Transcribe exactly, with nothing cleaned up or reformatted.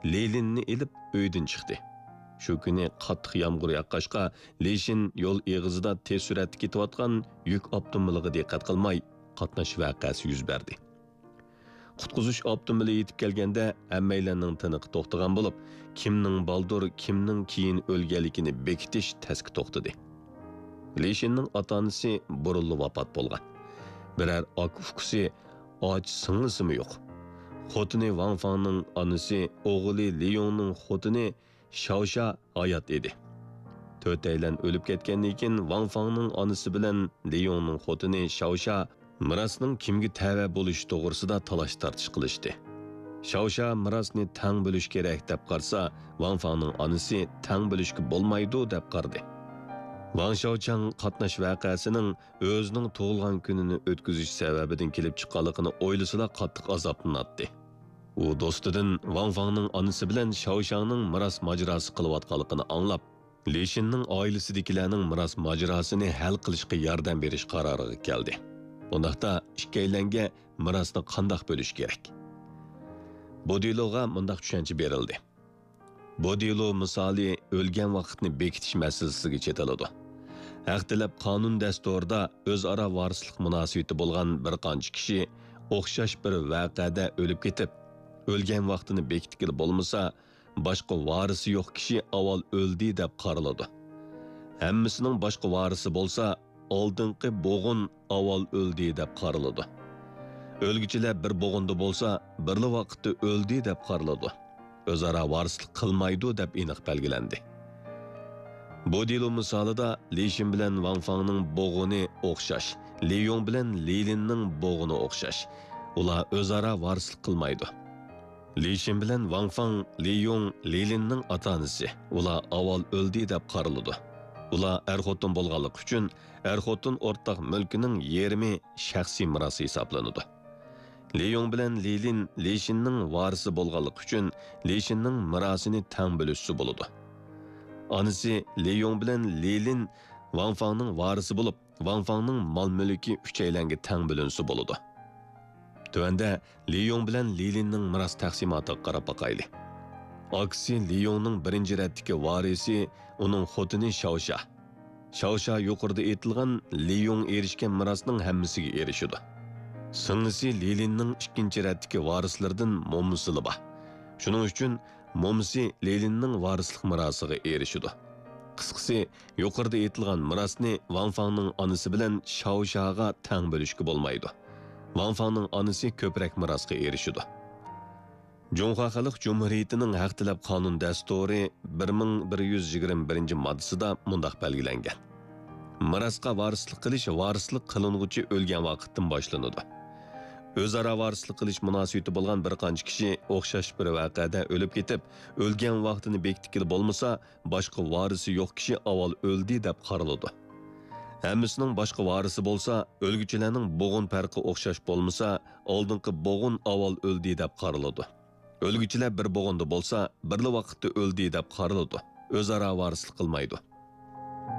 لىلىننى ئېلىپ ئۆيدىن چىقتى. شۇ كۈنى قاتتىق يامغۇر ياغقاچقا، لىشىن يول ئېغىزىدا تېز سۈرئەتتە كېتىۋاتقان يۈك ئاپتوموبىلىغا دىققەت قىلماي، قاتناش ۋەقەسى يۈز بەردى. قۇتقۇزۇش ئاپتوموبىلى يېتىپ كەلگەندە، ھەممەيلەننىڭ تىنىقى توختىغان بولۇپ، كىمنىڭ بالدۇر، كىمنىڭ كېيىن ئۆلگەنلىكىنى بېكىتىش تەسكە توختىدى. لىشىننىڭ ئاتا-ئانىسى بۇرۇنلا ۋاپات بولغان. بىرەر ئاكا-ئۇكىسى، ئاچا-سىڭلىسىمۇ يوق. خوتۇنى ۋاڭ فاڭنىڭ ئانىسى، ئوغلى لىيۇڭنىڭ خوتۇنى شاۋشا ھايات ئىدى. تۆتەيلەن ئۆلۈپ كەتكەندىن كېيىن، ۋاڭ فاڭنىڭ ئانىسى بىلەن لىيۇڭنىڭ خوتۇنى شاۋشا مىراسنىڭ كىمگە تەۋە بولۇشى توغرىسىدا تالاش-تارتىش قىلىشتى. شاۋشا مىراسنى تەڭ بۆلۈش كېرەك دەپ قارىسا، ۋاڭ فاڭنىڭ ئانىسى تەڭ بۆلۈشكە بولمايدۇ دەپ قارىدى. ۋاڭ شاۋچاڭ قاتناش ۋەقەسىنىڭ ئۆزىنىڭ تۇغۇلغان كۈنىنى ئۆتكۈزۈش سەۋەبىدىن كېلىپ چىققانلىقىنى ئويلىسىلا قاتتىق ئازابلىناتتى. ئۇ دوستىدىن ۋاڭ فاڭنىڭ ئانىسى بىلەن شاۋشاڭنىڭ مىراس ماجىراسى قىلىۋاتقانلىقىنى ئاڭلاپ، لىشىننىڭ ئائىلىسىدىكىلەرنىڭ مىراس ماجىراسىنى ھەل قىلىشقا ياردەم بېرىش قارارىغا كەلدى. ئۇنداقتا ئىككىيلەنگە مىراسنى قانداق بۆلۈش كېرەك؟ بودىلوغا مۇنداق چۈشەنچە بېرىلدى. بودىلو مىسالى ئۆلگەن ۋاقىتنى بېكىتىش مەسىلىسىگە چېتىلىدۇ. ھەق تەلەپ قانۇن دەستۇرىدا ئۆزئارا ۋارىسلىق مۇناسىۋىتى بولغان بىر قانچە كىشى ئوخشاش بىر ۋەقەدە ئۆلۈپ كېتىپ، ئۆلگەن ۋاقتىنى بېكىتكىلى بولمىسا، باشقا ۋارىسى يوق كىشى ئاۋۋال ئۆلدى دەپ قارىلىدۇ. ھەممىسىنىڭ باشقا ۋارىسى بولسا، ئالدىنقى بوغۇن ئاۋۋال ئۆلدى دەپ قارىلىدۇ. ئۆلگۈچىلەر بىر بوغۇندا بولسا، بىرلا ۋاقىتتا ئۆلدى دەپ قارىلىدۇ. ئۆزئارا ۋارىسلىق قىلمايدۇ دەپ ئېنىق بەلگىلەندى. بۇ دېلو مىسالىدا لىشىن بىلەن ۋاڭ فاڭنىڭ بوغۇنى ئوخشاش، لىيۇڭ بىلەن لىلىننىڭ بوغۇنى ئوخشاش. ئۇلار ئۆزئارا ۋارىسلىق قىلمايدۇ. لىشىن بىلەن ۋاڭ فاڭ، لىيۇڭ، لىلىننىڭ ئاتا-ئانىسى. ئۇلار ئاۋۋال ئۆلدى دەپ قارىلىدۇ. ئۇلار ئەر-خوتۇن بولغانلىقى ئۈچۈن، ئەر-خوتۇن ئورتاق مۈلكىنىڭ يېرىمى شەخسىي مىراس ھېسابلىنىدۇ. لىيۇڭ بىلەن لىلىن لىشىننىڭ ۋارىسى بولغانلىقى ئۈچۈن، لىشىننىڭ مىراسىنى تەڭ بۆلۈشسە بولىدۇ. ئانىسى لىيۇڭ بىلەن لىلىن ۋاڭ فاڭنىڭ ۋارىسى بولۇپ، ۋاڭ فاڭنىڭ مال-مۈلكى ئۈچەيلەنگە تەڭ بۆلۈنسە بولىدۇ. تۆۋەندە لىيۇڭ بىلەن لىلىننىڭ مىراس تەقسىماتىغا قاراپ باقايلى. ئاكىسى لىيۇڭنىڭ بىرىنچى رەتتىكى ۋارىسى ئۇنىڭ خوتۇنى شاۋشا. شاۋشا يۇقىرىدا ئېيتىلغان لىيۇڭ ئېرىشكەن مىراسنىڭ ھەممىسىگە ئېرىشىدۇ. سىڭلىسى لىلىننىڭ ئىككىنچى رەتتىكى ۋارىسلىرىدىن مومىسىلا بار. شۇنىڭ ئۈچۈن مومىسى لىلىننىڭ ۋارىسلىق مىراسىغا ئېرىشىدۇ. قىسقىسى، يۇقىرىدا ئېيتىلغان مىراسنى ۋاڭ فاڭنىڭ ئانىسى بىلەن شاۋشاغا تەڭ بۆلۈشكە بولمايدۇ. ۋاڭ فاڭنىڭ ئانىسى كۆپرەك مىراسقا ئېرىشىدۇ. جۇڭخۇا خەلق جۇمھۇرىيىتىنىڭ ھەق تەلەپ قانۇن دەستۇرى بىر مىڭ بىر يۈز يىگىرمە بىرىنچى ماددىسىدا مۇنداق بەلگىلەنگەن: مىراسقا ۋارىسلىق قىلىش ۋارىسلىق قىلىنغۇچى ئۆلگەن ۋاقىتتىن باشلىنىدۇ. ئۆزئارا ۋارىسلىق قىلىش مۇناسىۋىتى بولغان بىر قانچە كىشى ئوخشاش بىر ۋەقەدە ئۆلۈپ كېتىپ، ئۆلگەن ۋاقتىنى بېكىتكىلى بولمىسا، باشقا ۋارىسى يوق كىشى ئاۋۋال ئۆلدى دەپ قارىلىدۇ. ھەممىسىنىڭ باشقا ۋارىسى بولسا، ئۆلگۈچىلەرنىڭ بوغۇن پەرقى ئوخشاش بولمىسا، ئالدىنقى بوغۇن ئاۋۋال ئۆلدى دەپ قارىلىدۇ. ئۆلگۈچىلەر بىر بوغۇندا بولسا، بىرلا ۋاقىتتا ئۆلدى دەپ قارىلىدۇ. ئۆزئارا ۋارىسلىق قىلمايدۇ.